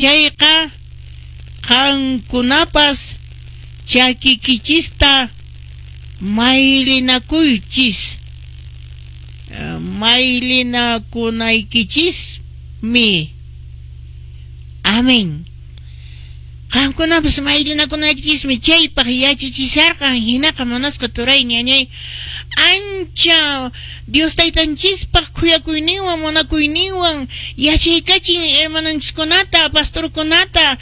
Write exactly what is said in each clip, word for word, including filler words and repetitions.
Chayqa qankunapas chakikichista maylinakuychis, maylinakunaykichismi. Amén. Qankunapas maylinakunaykichismi chaypaq yachachisharqan. Hinaqa munasqa turay ñañay, ancha Dios taytanchispaq khuyakuyninwan munakuyninwan yachaykachin hermananchiskunata, pastorkunata,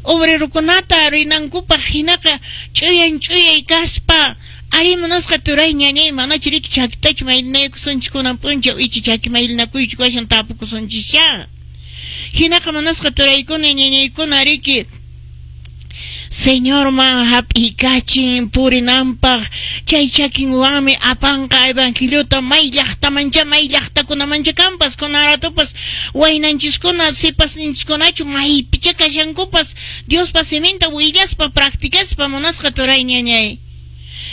obrerokunata rinankupaq. Hinaqa ch'uyan ch'uyay kaspa ari munasqa turay ñañay, manachu riki chakitachu maylinaykusunchis kunan p'unchaw ichi chaki maylinakuychu kashan tapukusunchischa. Hinaqa munasqa turaykuna ñañaykuna riki Señorman hap'iykachin purinanpaq, chay chakinwanmi apanqa evangeliota may llaqtamancha may llaqtakunamancha kanpas. Kunan ratupas waynanchiskuna sipasninchiskunachu maypicha kashankupas Diospa siminta willaspa practicaspa munasqa turay ñañay.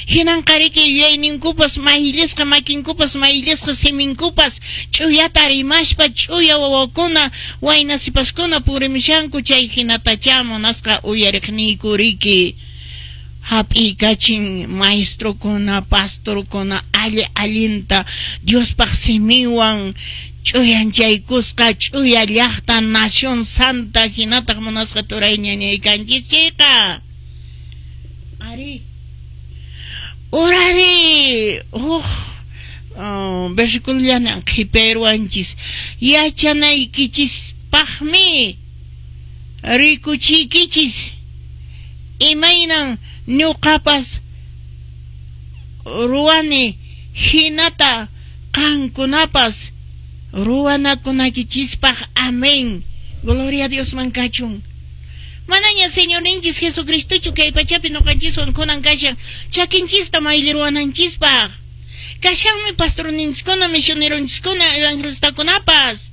Hinanqa riki yuyayninkupas mayllisqa, makinkupas mayllisqa, siminkupas ch'uyata rimaspa ch'uya wawakuna wayna sipaskuna purimushanku. Chay hinatacha munasqa uyariqniyku riki hap'iykachin maestrokuna, pastorkuna alli allinta Diospaq siminwan ch'uyanchaykusqa ch'uya llaqta nación santa hinataq munasqa turay ñañay kanchis chayqa. Ari Urari huk versículo qhiperuanchis yachanaykichispaqmi rikuchiykichis imaynan ñuqapas ruwani hinata qankunapas ruwanakunaykichispaq. Amén. Gloria a Diosman kachun. Manaña Señorninchis Jesucristochu kay pachapi ñuqanchiswan kunan kashan chakinchista mayliruwananchispaq. Kashanmi pastorninchiskuna, misioneronchiskuna, evangelistakunapas.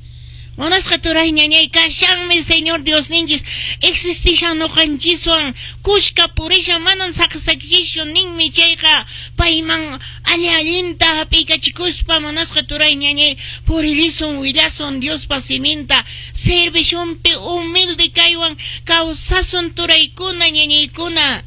Munasqa turay ñañay, kashanmi Señor Diosninchis existishan ñuqanchiswan kushka purishan, manan saqsakichischu ninmi. Chayqa payman alli allinta hap'iykachikuspa munasqa turay ñañay puririsun, willasun Diospa siminta, servishunpi humilde kaywan kawsasun turaykuna ñañaykuna,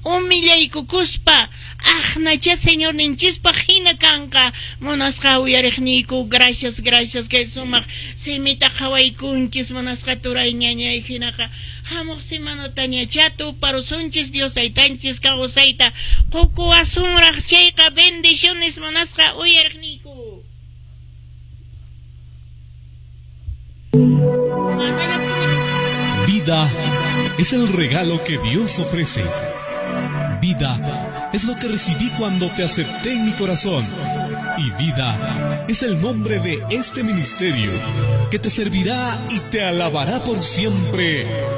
humillaykukuspa aqnacha Señorninchispaq hina kanqa. Munasqa uyariqniyku, gracias, gracias kay sumaq simita qhawaykunchis munasqa turay ñañay. Hinaqa hamuq semanatañacha tuparusunchis, Dios taytanchis kawsayta qukuwasunraq chayqa. Bendiciones munasqa uyariqniyku. Vida es el regalo que Dios ofrece. Vida es lo que recibí cuando te acepté en mi corazón. Y vida es el nombre de este ministerio que te servirá y te alabará por siempre.